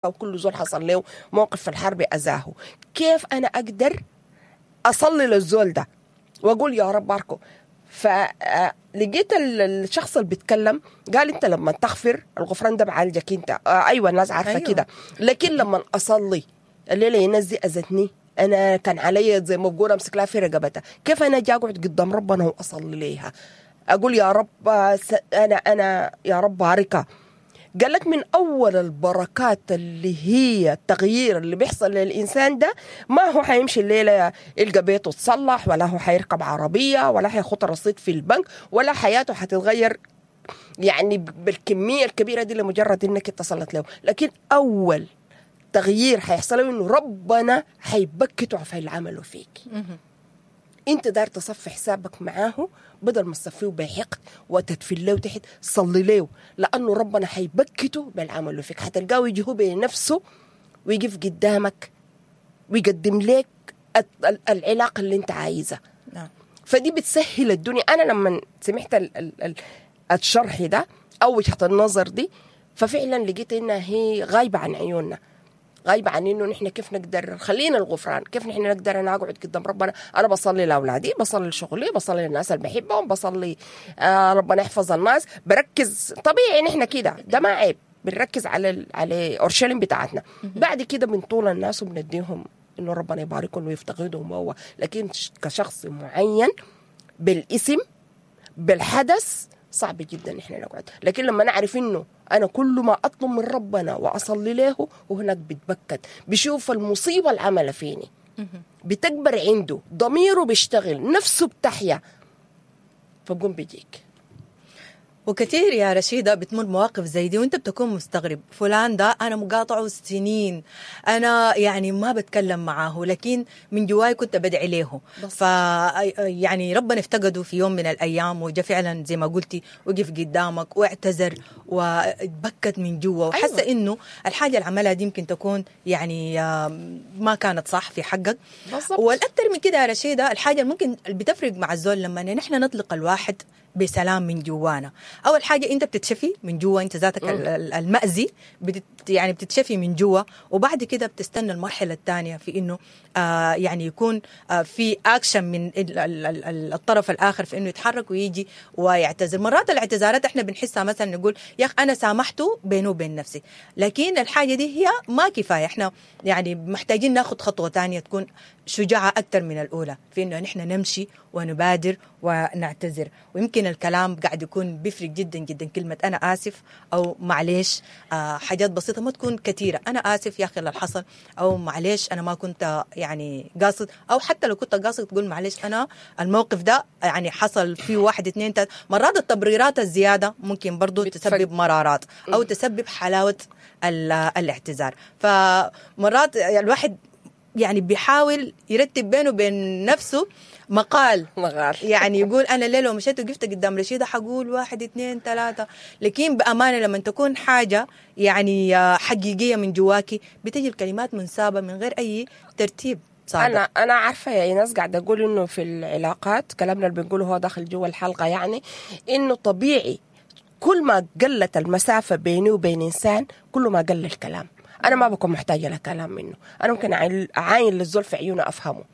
وكل زول حصل له موقف في الحرب اذاه. كيف انا اقدر اصلي للزول ده واقول يا رب باركه؟ فلقيت الشخص اللي بيتكلم قال انت لما تغفر، الغفران ده بعالجك انت. ايوه الناس عارفه. أيوة. كده، لكن لما اصلي الليلة الناس دي اذتني، انا كان علي زي ما بقول امسك لها في رقبتها، كيف انا اجي اقعد قدام ربنا واصلي ليها اقول يا رب انا يا رب باركها؟ قال لك من اول البركات اللي هي التغيير اللي بيحصل للانسان ده، ما هو حيمشي الليلة يلقى بيته اتصلح، ولا هو حيركب عربيه، ولا حيخط رصيد في البنك، ولا حياته حتتغير يعني بالكمية الكبيرة دي لمجرد انك اتصلت له. لكن اول تغيير حيحصل له انه ربنا حيبكته في اللي عمله فيك. انت داير تصفي حسابك معاه، بدل ما تصفية بحقد وتدفل له تحت، صلي له، لانه ربنا حيبكته بالعمل فيك. حتلقاه يجي هو بنفسه ويقف قدامك ويقدم لك العلاقة اللي انت عايزها. فدي بتسهل الدنيا. انا لما سمعت الشرح ده او وجهه النظر دي، ففعلا لقيت انها هي غايبة عن عيوننا، غايبة عن انه نحن كيف نقدر خلينا الغفران، كيف نحن نقدر انا اقعد قدام ربنا. انا بصلي لاولادي، بصلي لشغلي، بصلي للناس اللي بحبهم، بصلي ربنا يحفظ الناس. بركز طبيعي نحن كده، ده ما عيب، بنركز على اورشليم بتاعتنا. بعد كده بنطول الناس وبنديهم انه ربنا يباركهم ويفتقدهم هو، لكن كشخص معين بالاسم بالحدث صعب جدا احنا نقعد. لكن لما نعرف انه انا كل ما اطلب من ربنا واصلي له، وهناك بتبكت، بشوف المصيبة اللي عملها فيني بتكبر عنده، ضميره بيشتغل، نفسه بتحيا، فبقوم بيجيك. وكثير يا رشيدة بتمر مواقف زي دي وانت بتكون مستغرب، فلان ده انا مقاطعه سنين، انا يعني ما بتكلم معاه، لكن من جواي كنت بدعي له. ف يعني ربنا افتقده في يوم من الايام وجا فعلا زي ما قلتي وقف قدامك واعتذر واتبكت من جوا وحس. أيوة. انه الحاجة اللي عملها دي يمكن تكون يعني ما كانت صح في حقك. والاكثر من كده يا رشيدة، الحاجة اللي ممكن اللي بتفرق مع الزول لما نحن نطلق الواحد بسلام من جوانا، اول حاجة انت بتتشفي من جوا، انت ذاتك المأذي يعني بتتشفي من جوا، وبعد كده بتستنى المرحلة الثانية في انه يعني يكون في اكشن من الطرف الاخر في انه يتحرك ويجي ويعتذر. مرات الاعتذارات احنا بنحسها مثلا نقول يا اخ انا سامحته بينه وبين نفسي، لكن الحاجة دي هي ما كفاية، احنا يعني محتاجين ناخذ خطوة ثانية تكون شجاعة اكثر من الاولى في انه نحن نمشي ونبادر ونعتذر. ويمكن الكلام قاعد يكون بيفرق جدا جدا، كلمة انا اسف او معليش، حاجات بسيطة ما تكون كثيرة، انا اسف يا اخي اللي حصل، او معليش انا ما كنت يعني قاصد، او حتى لو كنت قاصد تقول معليش انا الموقف ده يعني حصل فيه 1 2 3. مرات التبريرات الزيادة ممكن برضو تسبب مرارات او تسبب حلاوة الاعتذار. فمرات الواحد يعني بيحاول يرتب بينه وبين نفسه مقال يعني يقول انا ليه لو مشيت وقفت قدام رشيده حقول 1 2 3، لكن بامانه لما تكون حاجة يعني حقيقية من جواكي بتجي الكلمات منسابه من غير اي ترتيب صادق. انا عارفه يا ايناس، قاعدة اقول انه في العلاقات كلامنا اللي بنقوله هو داخل جوا الحلقة، يعني انه طبيعي كل ما قلت المسافة بيني وبين انسان كل ما قل الكلام. انا ما بكون محتاجه لكلام منه، انا ممكن اعاين للزول في عيونه افهمه،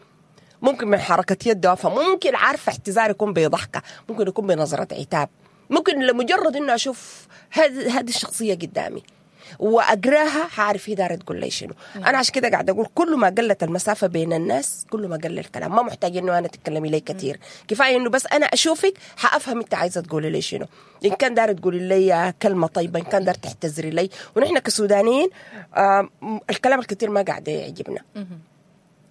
ممكن من حركة يده افهمه، ممكن عارفه اعتذار يكون بضحكه، ممكن يكون بنظره عتاب، ممكن لمجرد انه اشوف هذه الشخصية قدامي واقراها حاعرف هي دايرة تقول لي شنو. انا عشان كده قاعدة اقول كل ما قلت المسافة بين الناس كل ما قل الكلام، ما محتاج انه انا تتكلمي لي كثير، كفاية انه بس انا اشوفك حافهم انت عايزه تقولي لي شنو، ان كان دايرة تقولي لي كلمة طيبة، ان كان دايرة تعتذري لي. ونحن كسودانيين الكلام الكثير ما قاعد يعجبنا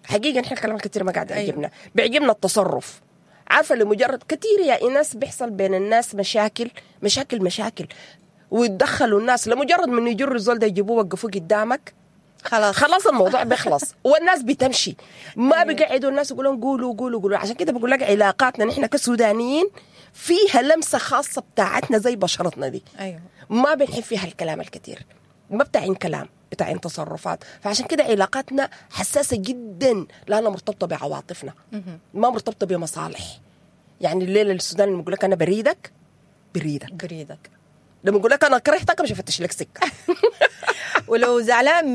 حقيقة، نحن الكلام الكثير ما قاعد يعجبنا. بيعجبنا التصرف، عارفه لمجرد كثير يا ايناس بيحصل بين الناس مشاكل مشاكل مشاكل، ويتدخلوا الناس لمجرد من يجروا الزول ده يجيبوه وقفوه قدامك، خلاص الموضوع بيخلص والناس بتمشي، ما بيقعدوا الناس يقولون قولوا قولوا قولوا. عشان كده بقول لك علاقاتنا نحن كسودانيين فيها لمسه خاصة بتاعتنا زي بشرتنا دي. أيوة. ما بنحب فيها الكلام الكثير، ما بتاعين كلام، بتاعين تصرفات. فعشان كده علاقاتنا حساسة جدا لانها مرتبطة بعواطفنا، ما مرتبطة بمصالح. يعني الليلة السوداني لما يقول لك انا بريدك بريدك، لما يقول لك انا كرهتك مش هفتش لك سكة. ولو زعلان